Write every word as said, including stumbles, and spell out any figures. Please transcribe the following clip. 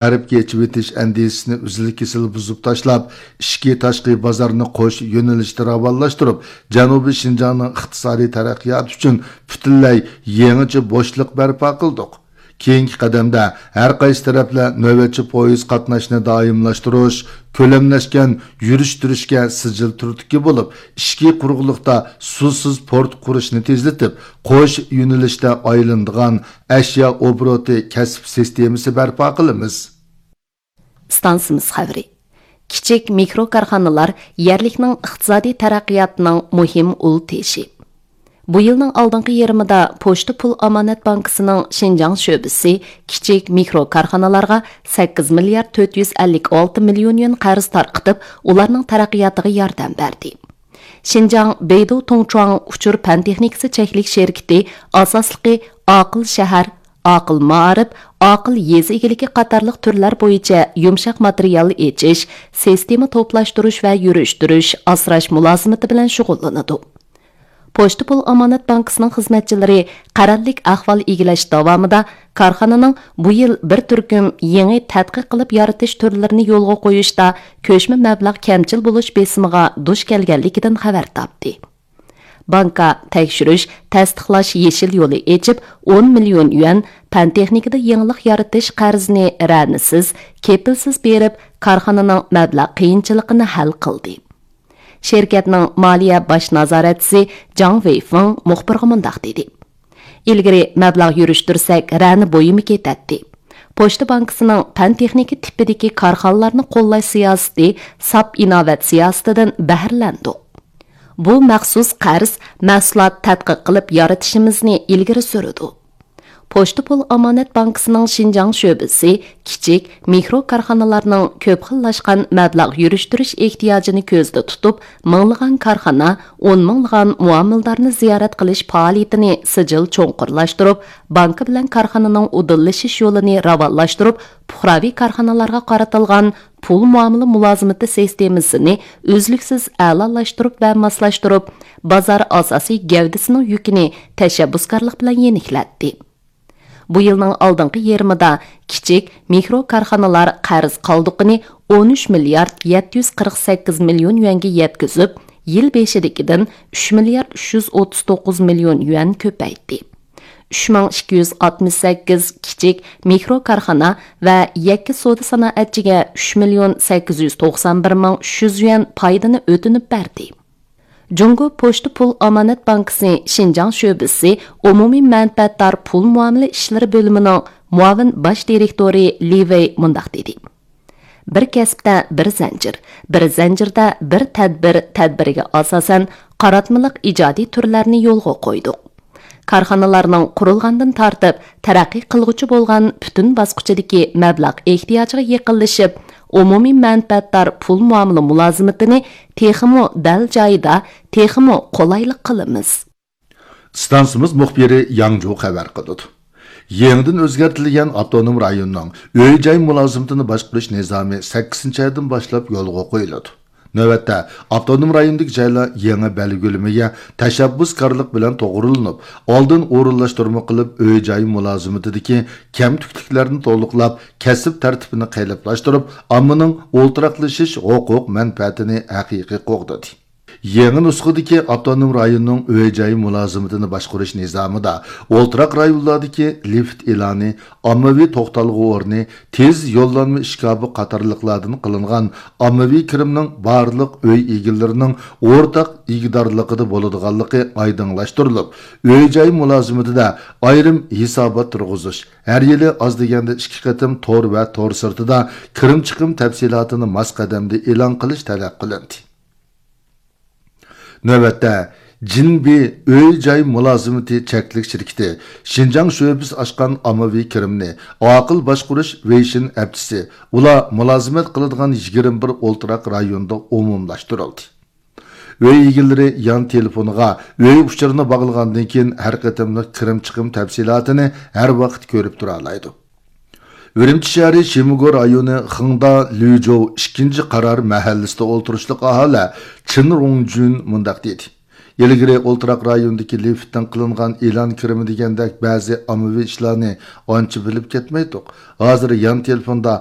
غەربكە ئېچىۋېتىش ئەندىزىسىنى ئۈزۈل-كېسىل بۇزۇپ تاشلاپ، ئىچكى، تاشقى بازارنى قوش يۆنىلىشتە راۋانلاشتۇرۇپ، جەنۇبىي شىنجاڭنىڭ ئىقتىسادىي تەرەققىياتى ئۈچۈن پۈتۈنلەي يېڭىچە بوشلۇق بەرپا قىلدۇق. كېيىنكى قەدەمدە ھەر قايسى تەرەپلەر نۆۋەتچى پويىز قاتناشنى دائىملاشتۇرۇش، كۆلەملەشكەن يۈرۈشتۈرۈشكە سىجىل تۈردىكى بولۇپ، ئىچكى قۇرۇقلۇقتا سۇسىز پورت قۇرۇشنى تېزلىتىپ، قوش يۆنىلىشتە ئايلىنىدىغان ئەشيا ئوبوروتى كەسىپ سىستېمىسى بەرپا قىلىمىز. ئىستانسىمىز خەۋىرى. كىچىك مىكرو كارخانىلار يەرلىكنىڭ ئىقتىسادىي تەرەققىياتىنىڭ مۇھىم ئۇل تېشى. بۇ يىلنىڭ ئالدىنقى يېرىمىدا پوچتا پۇل ئامانەت بانكىسىنىڭ شىنجاڭ شۆبىسى كىچىك مىكرو كارخانىلارغا سەككىز مىليارد تۆت يۈز ئەللىك ئالتە مىليون يۈەن قەرز تارقىتىپ، ئۇلارنىڭ تەرەققىياتىغا ياردەم بەردى. شىنجاڭ بېيدۇ تۇڭچۇاڭ ئۇچۇر پەن تېخنىكىسى چەكلىك شىركىتى ئاساسلىقى ئاقىل شەھەر، ئاقىل مائارىپ، ئاقىل يېزا ئىگىلىكى قاتارلىق تۈرلەر بويىچە يۇمشاق ماتېرىيال ئېچىش، سىستېما توپلاشتۇرۇش ۋە يۈرۈشتۈرۈش، ئاسراش مۇلازىمىتى بىلەن شۇغۇللىنىدۇ. پوچتا پۇل ئامانەت بانكىسىنىڭ خىزمەتچىلىرى قەرەللىك ئەھۋال ئىگىلەش داۋامىدا كارخانىنىڭ بۇ يىل بىر تۈركۈم يېڭى تەتقىق قىلىپ يارىتىش تۈرلىرىنى يولغا قويۇشتا كۆچمە مەبلەغ كەمچىل بولۇش بېسىمىغا دۇچ كەلگەنلىكىدىن خەۋەر تاپتى. بانكا تەكشۈرۈش، تەستىقلاش يېشىل يولى ئېچىپ، ئون مىليون يۈەن پەن تېخنىكىدا يېڭىلىق يارىتىش قەرزىنى رەنىسىز، كېپىلسىز بېرىپ، كارخانىنىڭ مەبلەغ قىيىنچىلىقىنى ھەل قىلدى. شىركەتنىڭ مالىيە باش نازارەتچىسى جاڭ ۋېيفېڭ مۇخبىرغا مۇنداق دېدى: ئىلگىرى مەبلەغ يۈرۈشتۈرسەك، رەنە بۇيۇمى كېتەتتى. پوچتا بانكىسىنىڭ پەن تېخنىكا تىپىدىكى كارخانىلارنى قوللاش سىياسىتى ساپ ئىناۋەت سىياسىتىدىن بەھرىلەندۇق. بۇ مەخسۇس قەرز مەھسۇلات تەتقىق قىلىپ يارىتىشىمىزنى ئىلگىرى سۈرىدۇ. پوچتا پۇل ئامانەت بانكىسىنىڭ شىنجاڭ شۆبىسى كىچىك، مىكرو كارخانىلارنىڭ كۆپ خىللاشقان مەبلەغ يۈرۈشتۈرۈش ئېھتىياجىنى كۆزدە تۇتۇپ، مىڭلىغان كارخانا، ئون مىڭلىغان مۇئامىلىدارنى زىيارەت قىلىش پائالىيىتىنى سىجىل چوڭقۇرلاشتۇرۇپ، بانكا بىلەن كارخانىنىڭ ئۇدۇللىشىش يولىنى راۋانلاشتۇرۇپ، پۇقراۋى كارخانىلارغا قارىتىلغان پۇل مۇئامىلە مۇلازىمىتى سىستېمىسىنى ئۈزلۈكسىز ئەلالاشتۇرۇپ ۋە ماسلاشتۇرۇپ، بازار ئاساسىي گەۋدىسىنىڭ يۈكىنى تەشەببۇسكارلىق بىلەن يېنىكلەتتى. بۇ يىلنىڭ ئالدىنقى يېرىمىدا كىچىك، مىكرو كارخانىلار قەرز قالدۇقىنى ئون ئۈچ مىليارد يەتتە يۈز قىرىق سەككىز مىليون يۈەنگە يەتكۈزۈپ، يىل بېشىدىكىدىن ئۈچ مىليارد ئۈچ يۈز ئوتتۇز توققۇز مىليون يۈەن كۆپەيتتى. ئۈچ مىڭ ئىككى يۈز ئاتمىش سەككىز كىچىك، مىكرو كارخانا ۋە يەككە سودا سانائەتچىگە ئۈچ مىليون سەككىز يۈز توقسان بىر مىڭ ئۈچ يۈز يۈەن پايدىنى ئۆتۈنۈپ بەردى. جۇڭگو پوچتا پۇل ئامانەت بانكىسى شىنجاڭ شۆبىسى ئومۇمىي مەنپەئەتدار پۇل مۇئامىلە ئىشلىرى بۆلۈمىنىڭ مۇئاۋىن باش دىرېكتورى لى ۋېي مۇنداق دېدى: بىر كەسىپتە بىر زەنجىر، بىر زەنجىردە بىر تەدبىر تەدبىرىگە ئاساسەن قاراتمىلىق ئىجادىي تۈرلەرنى يولغا قويدۇق. كارخانىلارنىڭ قۇرۇلغاندىن تارتىپ تەرەققىي قىلغۇچى بولغان پۈتۈن باسقۇچىدىكى مەبلەغ ئېھتىياجىغا يېقىنلىشىپ، ئومۇمىي مەنپەئەتدار پۇل مۇئامىلە مۇلازىمىتىنى تېخىمۇ دەل جايىدا، تېخىمۇ قولايلىق قىلىمىز. ئىستانسىمىز مۇخبىرى ياڭجۇ خەۋەر قىلىدۇ. يېڭىدىن ئۆزگەرتىلگەن ئاپتونوم رايوننىڭ ئۆي جاي مۇلازىمىتىنى باشقۇرۇش نىزامى سەككىزىنچى ئايدىن باشلاپ يولغا قويۇلىدۇ. نۆۋەتتە، ئاپتونوم رايوندىكى جايلار يېڭى بەلگىلىمىگە تەشەببۇسكارلىق بىلەن توغرىلىنىپ، ئالدىن ئورۇنلاشتۇرما قىلىپ، ئۆي جاي مۇلازىمىتىدىكى كەمتۈكلۈكلەرنى تولۇقلاپ، كەسىپ تەرتىپىنى قېلىپلاشتۇرۇپ، ئاممىنىڭ ئولتۇراقلىشىش ھوقۇق مەنپەئەتىنى ھەقىقىي قوغدىدى. يېڭى نۇسخىدىكى ئاپتونوم رايوننىڭ ئۆي جاي مۇلازىمىتىنى باشقۇرۇش نىزامىدا ئولتۇراق رايونلاردىكى لىفت ئېلانى، ئاممىۋى توختالغۇ ئورنى، تېز يوللانما ئىشكاپى قاتارلىقلاردىن قىلىنغان ئاممىۋى كىرىمنىڭ بارلىق ئۆي ئىگىلىرىنىڭ ئورتاق ئىگىدارلىقىدا بولىدىغانلىقى ئايدىڭلاشتۇرۇلۇپ، ئۆي جاي مۇلازىمىتىدە ئايرىم ھېسابات تۇرغۇزۇش، ھەر يىلى ئاز دېگەندە ئىككى قېتىم تور ۋە تور سىرتىدا كىرىم چىقىم تەپسىلاتىنى ماس قەدەمدە ئېلان قىلىش تەلەپ قىلىندى. نۆۋەتتە، جىنبى ئۆي جاي مۇلازىمىتى چەكلىك شىركىتى شىنجاڭ شۆبىسى ئاچقان ئاممىۋى كىرىمنى ئاقىل باشقۇرۇش ۋېيشىن ئەپچىسى، ئۇلار مۇلازىمەت قىلىدىغان يىگىرمە بىر ئولتۇراق رايوندا ئومۇملاشتۇرۇلدى. ئۆي ئىگىلىرى يان تېلېفونىغا ئۆي ئۇچۇرىنى باغلىغاندىن كېيىن، ھەر قېتىملىق كىرىم چىقىم تەپسىلاتىنى ھەر ۋاقىت كۆرۈپ تۇرالايدۇ. ئۈرۈمچى شەھىرى شىمىگو رايونى خېڭدا لۈجوۋ ئىككىنچى قارار مەھەللىسىدە ئولتۇرۇشلۇق ئاھالە چېن رۇڭجۈن مۇنداق دېدى: ئىلگىرى ئولتۇراق رايوندىكى لىفتتىن قىلىنغان ئېلان كىرىمى دېگەندەك بەزى ئاممىۋى ئىشلارنى ئانچە بىلىپ كەتمەيتتۇق. ھازىر يان تېلېفوندا